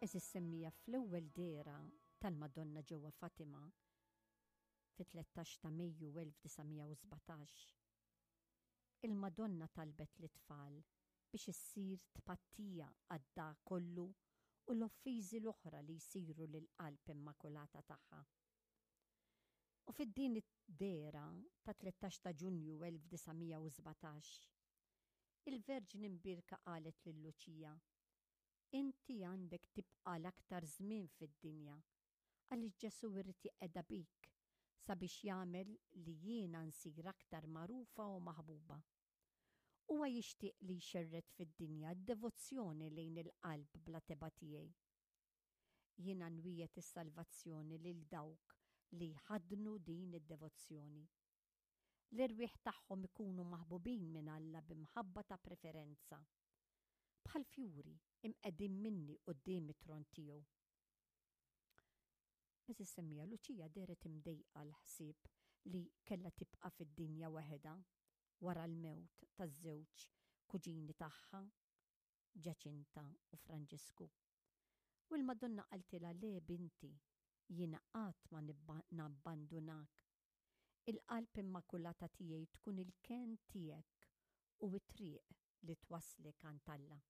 Eżis semmija fl-ewwel dehra tal-Madonna ġewwa Fatima fit-13 ta' Mejju 1917. Il-Madonna talbet lit-tfal biex issir tpattija għad-dagħa kollu u l-offiżi l-oħra li jsiru lill-Qalb Immakulata tagħha. U fid-din id-dehra ta' 13 ta' Ġunju 1917, il-Verġni Mbierka qalet lil Luċija, Inti għandek tibqa' l-aktar żmien fid-dinja, għaliex Ġesù jrid jeqgħedha bik sabiex jagħmel li jiena nsir aktar magħrufa u maħbuba. Huwa jixtieq li jxerred fid-dinja d-devozzjoni lejn il-qalb bla tebgħa tiegħi. Jiena nwiegħed is-salvazzjoni lil dawk li jħaddnu din id-devozzjoni. L-erwieħ tagħhom ikunu maħbubin minn Alla bi mħabba ta' preferenza, bħal fjuri imqegħdin minni quddiem it-tron tiegħu. Għeżież semmiegħa, Luċija dehret imdejqa l-ħsieb li kellha tibqa' fid-dinja waħedha wara l-mewt taż-żewġ kuġini tagħha, Ġaċinta u Franġisku. U l-Madonna qaltilha, Le binti, jiena qatt ma nabbandunak. Il-Qalb Immakulata tiegħi tkun il-kenn tiegħek u t-triq li twasslek għand Alla.